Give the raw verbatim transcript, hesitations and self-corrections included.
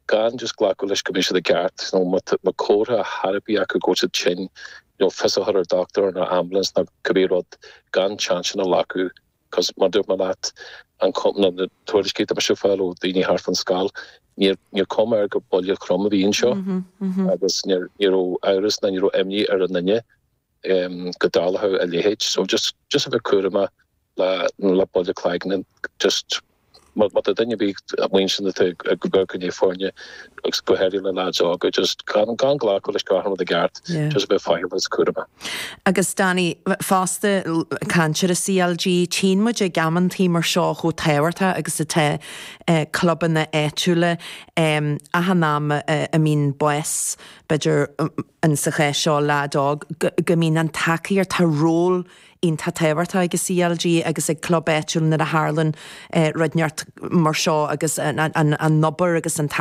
Gan just glacadh leis go mbeidh siad i gceart nó má comhartha ar bith acu go siad tinn nó fios a chur ar doctor nó ambulance nó cibé rud gan chance a ghlacadh cos mar dúirt mé leat an na tuairiscí atá mise fáil ó daoine thart fan scoil níor cuma ar gur buille trom a bhí anseo mm -hmm. agus ní raibh amhras ná ní raibh imní ar an duine um, go dtarlódh a leithéid so just just a bheith cúramach le le buille cloigne just má tá duine bí muin go go foirne agus go háirithe le lads óga just gan gan glacadh leis gach rud i gceart just bheith faichilleach cúramach. Agus Danny fosta caint ar CLG tchíonn muid ag amantaí mar seo chomh tábhachtach agus atá clubanna áitiúla achan am a mbíonn bás b'fhéidir an sa chás seo leaid óg go mbíonn an tacaíocht tá ról iontach tábhachtach ag CLG agus ag club áitiúil nuair a tharlaíonn rud inteacht mar seo agus an obair agus an tacaíocht